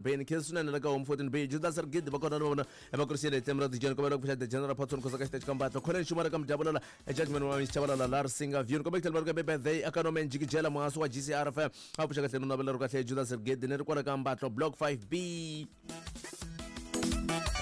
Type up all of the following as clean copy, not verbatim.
Beni khensa swinene la ka Home 14 B Judas Rigidi va kona na vona va kurisile hi tlhelo ra Dijeni kombela ku pfuxa The General Patson Khosa ka xiteji ka Mbatlo Khoneni Xuma ka Mudyavulela Judgment wa Chabalala la Risinga View kombela ku tlhela va ri ka birthday aka Norman Jikijela muhasi wa GCR FM a pfuxa kahle no navela ri kahle Judas Rigidi ni ri kwala ka Mbatlo Block 5B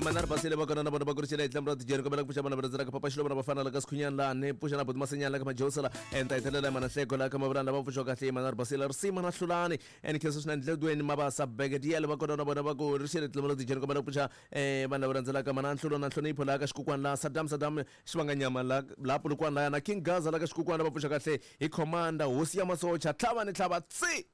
Manari Basile va kona na vona va kurisile hi tlhelo ra Dijeni kombela ku pfuxa vana va rhandzela ka Papa Xilova na vafana la ka Sikhunyani laha ni pfuxa na Buti Masenyani la ka Majosela enta hi tlhelela Mana Hleko la ka Mavulani lava pfuxiwa kahle Manari Basile Risima na Hlulani and khensa swinene Dledweni Mabasa Begediel va kona na vona va ku ri xele tlhelo ra Dijeni kombela ku pfuxa vanhu lava rhandzelaka mana Nhlulo na Nhlonipho laha ka Xikukwani laha Saddam Saddam Xivanganyama la laha Polokwane laya na King Gaza la ka Xikukwani va pfuxa kahle hi Commander hosi ya masocha tlhava ni tlhava tsi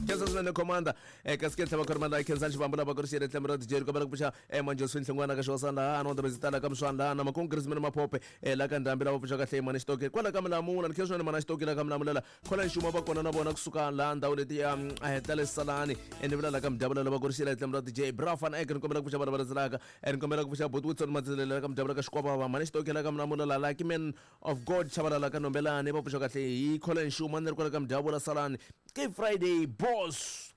khensa swinene commander kasi ke tlhava khorima laha khensani xivambu lava ku ri xele tlhelo ra Dijeni kombela ku pfuxa Manjosfin Hlongwana ka Xihosana laha Anonda Bezitala ka Mswana laha na Makungu Griezmann Maphope la ka Ndhambi lava pfuxa kahle Mani Xitoke kwala ka Milamula ni khensa swinene Mana Xitoke la ka Milamulela Khola nxuma va kona na vona kusuka laha ndhawu leti ya ta le Salani ni vula la ka Mudyavulela va ku ri xele tlhelo ra DJ Bra Van Eck ni kombela ku pfuxa vana va landzelaka ni kombela ku pfuxa Buti Wilson Matselela la ka Mudyavulela ka Xikwavava Mani Xitoke la ka Milamula Lucky Man of God Chabalala ka Nombelani va pfuxa kahle hi Khola nxuma ni ri kwala ka Mudyavulela Salani ke Friday boss.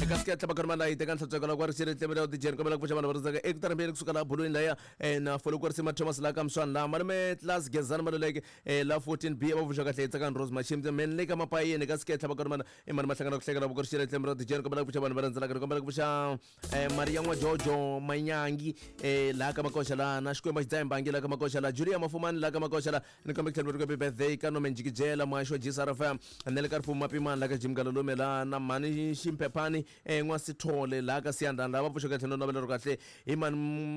Eka sike tlhava karhi malayi teka nhlantsweko la ku ri xiri tlemela u tijeni kombela ku pfuxa vanhu va rindzaka eku tarambeni kusuka laha bulweni laya na folo ku ri sima Thomas la ka Mswana laha malume Class Gezani Maluleke la 14 B va pfuxa kahle Tsakani Rose Machimbe men le ka mapayeni ka sike tlhava karhi mana i mani mahlangana ku hlekela ku ri xiri tlemela u tijeni kombela ku pfuxa vanhu va rindzelaka kombela ku pfuxa Maria N'wajojo Manyangi laha ka Makoxa laha na Xikwembu xi dzaha mbangi laha ka Makoxa laha Julia Mafumani laha ka Makoxa laha ni kombe ku tlhela ri happy birthday ka Norman Jikijela muhaxi wa GCR FM na le ka Rifumo Mapimani laha ka Jim Galalume laha na Mhani Ximphephani N'wasithole laha ka Siyandhani laha va pfuxeke tlhelo navela ro kahle hi Mhani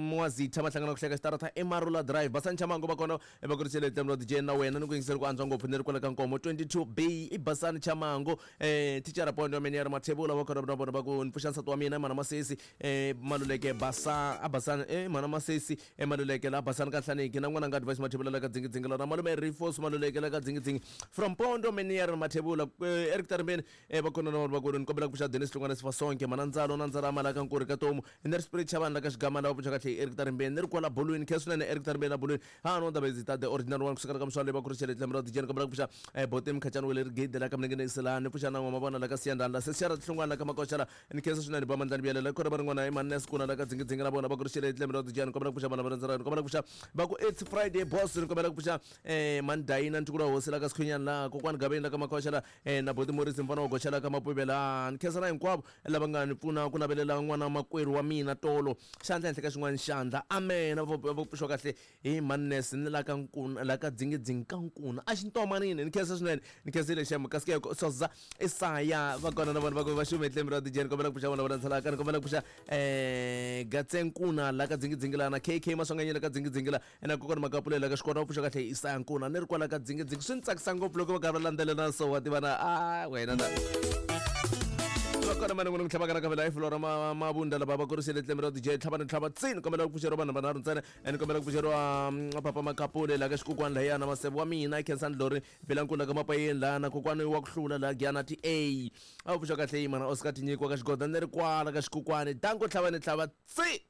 N'wazitha va hlangana ku hleka xitarata eMarula Drive Basani Chamango va kona va ku ri xele tlhelo DJ na wena ni ku yingisela ku antswa ngopfu ni ri kwala ka Nkomo 22 B i Basani Chamango Thicara Pondo ya mina ya ri Mathebula va kona na vona va ku ni pfuxa nsati wa mina mana Masesi Maluleke Basa a Basani mana Masesi Maluleke la Basani ka Nhlaniki na n'wana nga Advice Mathebula la ka Dzingidzingi la na malume Rifos Maluleke la ka Dzingidzingi from Pondo mini ya ri Mathebula Eric Tarimbeni va kona na vona va ku ni kombela ku pfuxa Dennis Hlongwane Sifasonke mana Ndzalo na Ndzalama la ka Nkuri ka Tomu ni ri Spirit Chavani la ka Xigama la va pfuxa kahle Eric Tarimbeni ni ri kwala bolweni khe swinene Eric Tarimbeni la bolweni Ha no ndaba ta the original one kusukela ka mswale va kurisele tlembe ra dijeni kombela ku pfuxa bote mkhachani wele ri gede la ka mlenge ne ni pfuxa na ngoma vona la ka siyandana la sesiara hlongwana la ka makoxa la ni khensa swinene ba mandlani biyele la khona va rin'wana i manne sikuna la ka dzingidzingi la vona va kurisele tlembe ra dijeni kombela ku pfuxa vana va randzela kombela ku pfuxa va ku it's Friday boss ni kombela ku pfuxa mandayina ntukulu wa hosi la ka sikhunyana la kokwani gaveni la ka makoxa la na boti Morisi mfana wa goxa la ka mapuve la ni khensa na hinkwavo lava nga ni pfuna ku navelela n'wana makwerhu wa mina tolo xandla henhla ka xin'wana xandla amen va pfuxiwa kahle hi mannes ni la ka nkuna la ka dzingidzingi ka nkuna a xintomanini ni khensa swinene ni khensile xem kasi ke soza isaya va kona na vona va ku va xume tlembe ra dijeni kombela ku pfuxa vona va landzelaka ni kombela ku pfuxa gatsenkuna la ka dzingidzingi la na KK Maswanganyi la ka dzingidzingi la na kokwana Makapule la ka xikona va pfuxa kahle Isaya Nkuna ni ri kwala ka dzingidzingi swi ni tsakisa ngopfu loko va karhi va landzelela so wa tivana a wena na va kona mani n'wini ku tlhavaka na kavela hi flora mavunda lava va kurisile tlembe ra DJ tlhava ni tlhava tsini kombela ku pfuxeriwa vanhu vanharhu ntsena ni kombela ku pfuxeriwa papa Makapule la ka xikukwani lahayana maseve wa mina Khensani Lori Bilankulu la ka Mapayeni laha na kokwani wa ku hlula la Giyana ti A a va pfuxa kahle mana Oscar Tinyiko ka xigoda ni ri kwala ka xikukwani danko tlhava ni tlhava tsi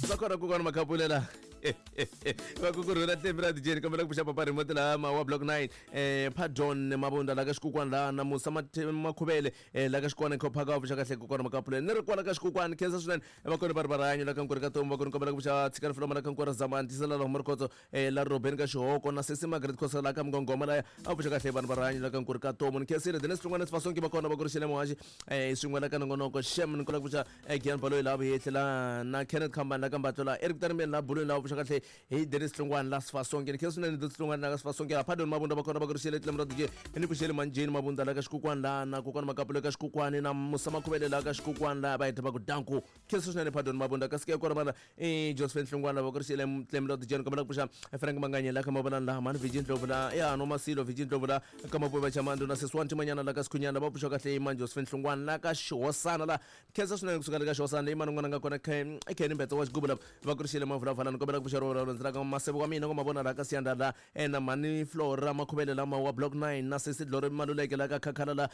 va kona kokwani Makapule la va ku kurhula tlembe ra DJ ni kombela ku pfuxa papa remote laha ma wa block 9 Pardon Mabunda la ka xikukwani laha na Musa Makhuvele la ka xikwana khophaka va pfuxa kahle kokwana Makapule ni ri kwala ka xikukwani khensa swinene va kona va ri va rihanyo la ka nkuri ka tomu va kona kombela ku pfuxa tshikani fuloma la ka nkuri zamani tisela la huma rikhotso la Robeni ka xihoko na sesi Margaret Khosa la ka mngongoma laya a pfuxa kahle vanhu va rihanyo la ka nkuri ka tomu ni khensile Dennis Hlongwane Sifasonke va kona va ku ri xele muhaxi swin'we la ka nongonoko xem ni kola ku pfuxa Gian Baloyi la vuhehli la na Kenneth Khambani la ka Mbatlo la Eric Tarimbeni la bulweni la pfuxa kahle hi Dennis Hlongwane la Sifasonke ni khensa swinene Dennis Hlongwane la ka Sifasonke la Pardon Mabunda va kona va ku ri xele tlembe ra DJ ni pfuxele Manjeni Mabunda la ka xikukwani la na kokwana Makapule ka xikukwani na Musa Makhuvele la ka xikukwani la va heta va ku danku khensa swinene Pardon Mabunda kasi ke kona vana Josephine Hlongwane va ku ri xele tlembe ra DJ ni kombela ku pfuxa Frank Manganye la ka Mavolani la Mani Virgin Ndlovu la ya no Masilo Virgin Ndlovu la ka Mapuva Chamandu na Seswanti Manyana la ka Sikhunyana va pfuxa kahle Mani Josephine Hlongwane la ka Xihosana la khensa swinene kusuka le ka Xihosana leyi mani n'wana nga kona Kenny Mbetse wa xigubu la va ku ri xele mavulavulani ni kombela ku pfuxa ro landzelaka maseve wa mina ku ma vona la ka Siyanda la na mhani Flora Makhuvele lama wa block 9 na sesi Dlore Maluleke la ka Khakhala la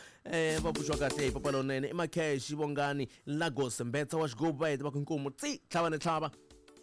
va pfuxiwa kahle hi papa lonene i Makheshi Vongani Lagos Mbetsa wa xigubu va heta va ku inkomu tsi tlhava ni tlhava.